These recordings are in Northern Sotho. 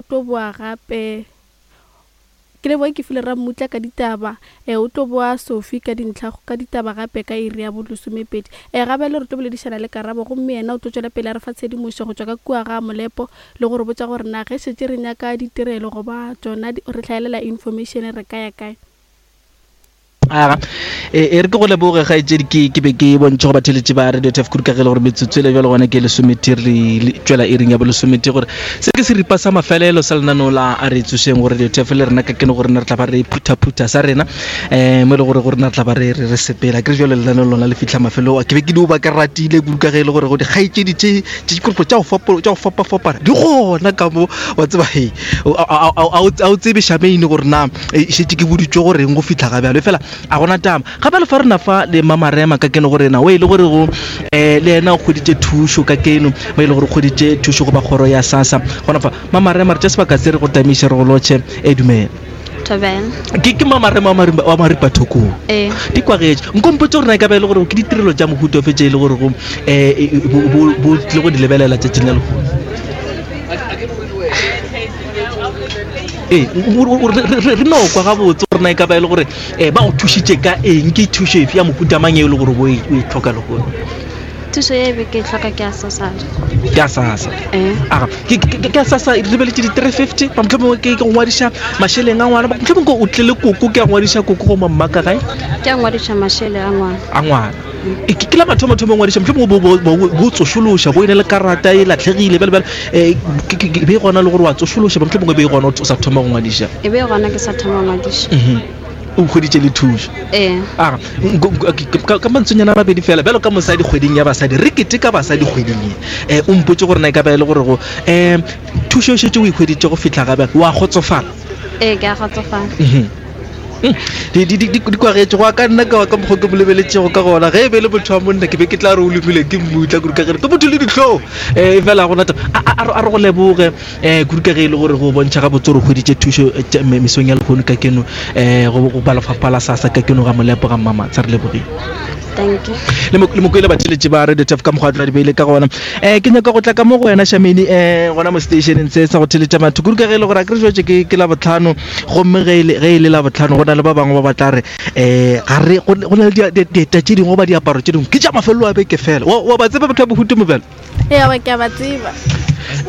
tlo boa gape. Ke leboge Kefile Rammutla ka ditaba. E, o tlo boa Sophie ka dintlha ka ditaba gape ka iri ya bolesomepedi. E, gabjale re tlo boledišana le Karabo gomme yena o tlo tšwela pele a re fa tshedimošo go tšwa ka kua ga Molepo le go re botša gore na ge šetše re nyaka ditirelo goba tšona re hlaelela information re ka ya kae. Aga, e, e re ke go leboge kgaetšedi ke ke be ke bontšhe go batheletši ba Radio Turf kudu ka ge e le gore metsotso ele bjalo gona ke lesometee re le- tšwela iring ya bolesomete gore se ke seripa sa mafelelo sa lenaneo la a re tsošeng go Radio Turf le rena ka keno gore rena re tla ba re phuthaphutha sa rena um mo e le gore go rena re tla ba re re re sepela ke re jalo lenaneo lona le fitlha mafelong ke be ke dio ba ke ratile kudu ka ge e le gore go dikgaetšedi tše tše dikoropo tša go fapo- tša go fapafapana di gona ka mo wa tseba he a o tsebe šameine gore na E šetše ke boditšwe go reng go fihla ga bjalo, efela a gona taba. Ga bjalo fa rena fa le Mamarema ka keno go rena, o e le gore go um le yena o hweditše thušo ka keno, mo e le gore o hweditše thušo go ba kgoro ya SASSA. Gona fa Mamarema re tše sebaka se re go tamiše re go lotšhe. E dumela. Thobela. Ke ke Mamarema wa Marimba wa Maripa Thokong. Ee. Di kwagetše. Nko mpotše gore na e ka ba e le gore ke ditirelo tša mohuta ofe tše e le gore go um bo bo tlile go di lebelela tšatšing la lehono. Ee, re no kwa gabotse gore na e ka ba e le gore um ba go thušitše ka eng, ke thušo efe ya mohuta mang e le gore o e, e tlhoka lehono? Thušo ye be ke e tlhoka ke ya SASSA. Ke ya SASSA. Ee. Aga, ke ya SASSA re lebeletše di-350, ba mohlomongwe ke go ngwadiša mašeleng a ngwana, mohlomongwe o tlile koko, ke ya ngwadiša koko go mamma ka gae? Ke ya ngwadiša mašele a ngwana. A ngwana. E, ke la mathomothomo ngwadiša mohlomongwe bo tsošološa bo e na le karata e latlhegile bjale bjale um be gona le gore wa tsošološa mohlomongwe be gona o sa thoma go ngwadiša e be gona ke sa thoma go ngwadiša mhm. o hweditše le thušo ee aga ka mantswenyana a mabedi fela bjalo ka mosadi kgweding ya basadi re keteka basadi kgweding e um o mpotse gore na e ka ba e le gore go um thušo e šetše o e hweditše go fihla gabe wa kgotsofala ee ke a kgotsofala mhm. Hmm. Di kwagetše go ya ka nna ka ka mokgwa ke mo lebeletšego ka gona ge e be le motho wa monna ke be ke tla re o lomile ke mmutla kudu ka gere ke motho le dihlong um e fela gona a re go leboge um kudu ka ge e le gore go bontšha gabotse gore o hweditše thušo eh, mesong ya lehono ka keno um go ba lefapha la sasa ka keno ga molepo ga mmamatsha re lebogile le mokwele batheletše ba radio tf ka mokgwa tla di beile ka gona um ke nyaka go tla ka mo go wena shameni um gona mo stationeng se sa go theletša batho kudu ka ge e le gore a ke re jwetse ke la botlhano gomme ge e le la botlhano go na le ba bangwe ba ba tla re um ga re go na le dieta tše dingwe goba diaparo tše dingwe ke tša mafelelo a beke fela wa ba tseba batho ba bohutu mobjalo ee ke a ba tseba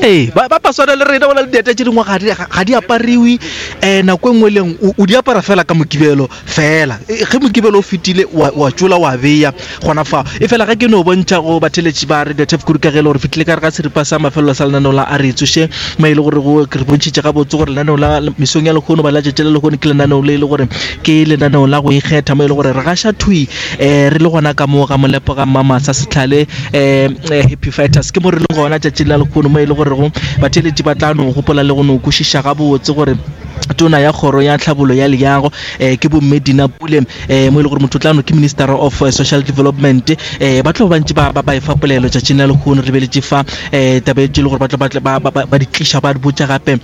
ee ba ba swana le rena go na le dieta tše dingwe ga di apariwe um nako e nngwe leng o di apara fela ka mokibelo fela e, ge mokibelo o fetile wa tšola wa beya gona fa e fela ge ke no bontšha go batheletši ba radio tef kudu ka ge e le gore fetile ka re ga seripa sa mafelelo sa lenaneo la a re tsoše mo e le gore go re bontšhitše gabotse gore lenaneo la mesong ya lehono ba la tšatši la lehono ke lenaneo le e le gore ke lenaneo la go ikgetha mo e le gore re gaša thwi um re le gona ka mo ga molepo ga mmamasa setlhale um happy fighters ke mo re leng gona tšatši la lehono mo e le gore go batheletši ba tla no gopola le go no kwešiša gabotse gore tona ya kgoro ya tlhabolo ya leago um ke bomme Dina Pule um mo e le gore motho tlano ke minister of eh, social development um ba tlo bantši ba ba efa polelo tšatšing la lehono re lebeletše fa um tabe tše le gore ba tlo ba di tliša ba di botša gape um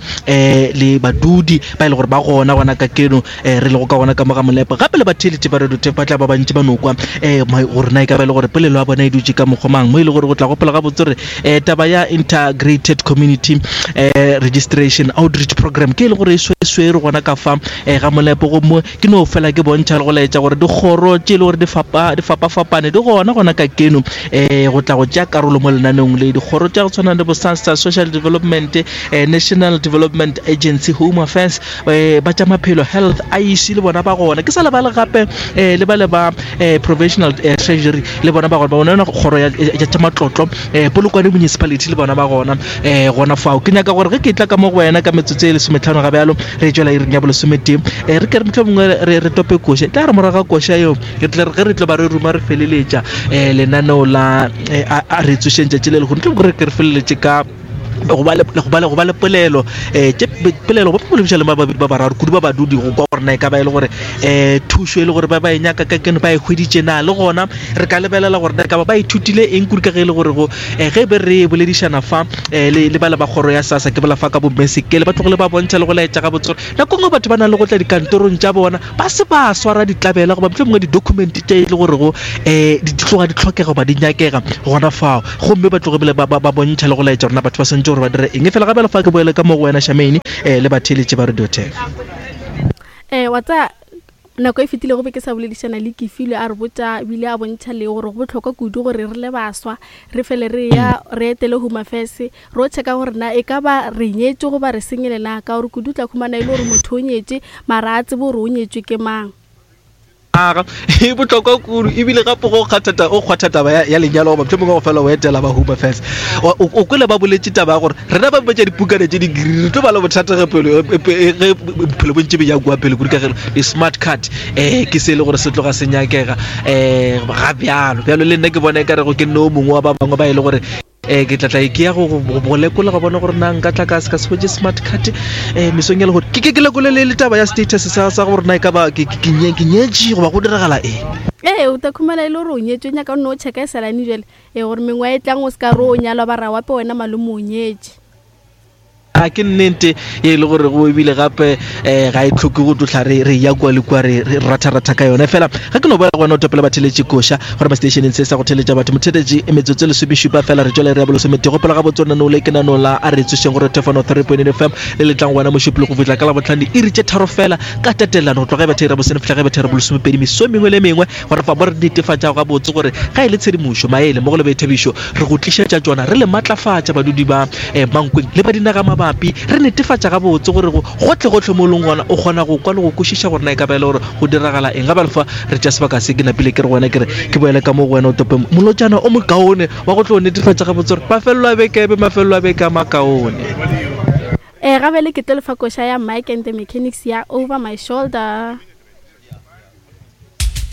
le badudi ba e le gore ba gona gona ka keno um re lego ka gona ka mo ga molepo gape le batheeletši ba radio tape ba tla ba bantši ba no kwa um gore na e ka ba e le gore polelo ya bona e dutše ka mokgwa mang mo e le gore go tla gopola gabotse gore um taba ya integrated community um registration outreach program ke e le gore e swere gona ka fa um ga molepo gomme ke no fela ke bontšha le go laetša gore dikgoro tše e le gore di fapafapane di gona gona ka keno um go tla go tšea karolo mo lenaneong le dikgoro tša go tshwana le bosasa social development um national development agency home affairs um ba tša maphelo health iec le bona ba gona ke sa lebale gape um le ba le ba um provisional treasury le bona ba gona ba bona kgoro ya tša matlotlo um polokwane municipality le bona ba gona um gona fao ke nyaka gore ge ke tla ka mo go wena ka metsotso e lesometlhano ga bjalo re tšwela iring ya bolesometee um re ke re motlho mongwe re tope koša tla re morago ga koša eo re tle ge re tlo ba re ruma re feleletša um lenaneo la a re tsošeng tšatši le lehono tlo re ke re feleletše ka go ba le go ba le go ba le polelo um tše polelo ba bolediša le ba babedi ba bararo kudu ba badudi go kwa gore na e ka ba e le gore um thušo e le gore ba ba e nyaka ka keno ba e hweditše na le gona re ka lebelela gore na e ka ba ba ithutile eng kudu ka ge e le gore go um ge be re boledišana fa um le le ba le ba kgoro ya sasa ke bola fa ka bomme sekele ba tlogile ba bontšha le go laetša gabotse gore nako nngwe batho ba na le go tla dikantorong tša bona ba se ba swara ditlabela goba mohlomongwe di-document tše e le gorego um di tloga di tlhokega goba di nyakega gona fao gomme ba tloge bile ba bontšha le go laetša rona batho ba swantše. swanetše gore ba dire eng. Efela gape fa ke boele ka mo go wena Charmaine um le batheeletši ba Radio Turf. Um wa tsaya nako e fetilego be ke sa boledišana le Kefilwe a re botša ebile a bontšha le gore go bohlokwa kudu gore re le baswa re fele re ya re etele Home Affairs re o checka gore na e ka ba re nyetše goba re sengele na, ka gore kudu o tla khumana e le gore motho o nyetše mara a tsebe gore o nyetšwe ke mang. Aga, e bohlokwa kudu ebile gape go kgatha o kgwatha taba ya, ya lenyalo goba mohlomongwe go fela o etela ba Home Affairs. O, o, o kwele ba boletše taba ya gore rena ba betša dipukana tše di-green re tlo ba le bothata ge pelo e, e, ge bophelo bo ntše bo ya kua pele kudu ka ge di-smart card um ke se e le gore se tloga se nyakega um ga bjalo bjalo le nna ke bona e ka rego ke nne o mongwe wa ba bangwe ba e le gore um ke tlatla ke ya go lekola go bona gore na nka tla ka se ka se hwetše smart card um mesong ya lehono ke ke ke lekole le le taba ya status sa sa gore na e ka ba ke ke nyetše goba go diragala eng. Ee, o tla khumana e le gore o nyetšwe, nyaka o nno o checka e salane jale ee gore mengwa e tlang o se ka re o nyalwa ba ra wape wena malome o nyetše. A ke nnete ye e le gore go ebile gape um ga e tlhoke go tlohla re re ya kua le kua re re ratharatha ka yone fela ga ke no boela go wena o topela batheletše koša gore ba stationeng se sa go theletša batho motheletše e metsotso e lesomešupa fela re tšwele re ya bolesomete gopola gabotse o nanole ke nanong la a re tsošeng gore thefano 3.8 fm le letlang go wena mošupolo go fihla ka labohlano diiri tše tharo fela ka tatelano go tloga e betha ira bosene fihla ge betha ira bolesomepedi meso e mengwe le e mengwe Gore fa mo re netefatšago gabotse gore ga e le tshedimošo, maele mmogo le boithabišo re go tlišetša tšona, re le matlafatša badudi ba eh, Mankweng le ba dinagamabapi, re netefatša gabotse gore go gohle-gohle mo o leng gona o kgona go kwa le go kwešiša gore na e ka ba e le gore go diragala eng. Ga bjale fa re tšea sebaka se ke napile ke re go wena ke re ke boele ka mo go wena o tope molotšana o mokaone wa go tlo netefatša gabotse gore mafelelo a beke e be mafelelo a beke a makaone. Ee, ga bjale ke tlo le fa koša ya Mike and the Mechanics ya Over My Shoulder.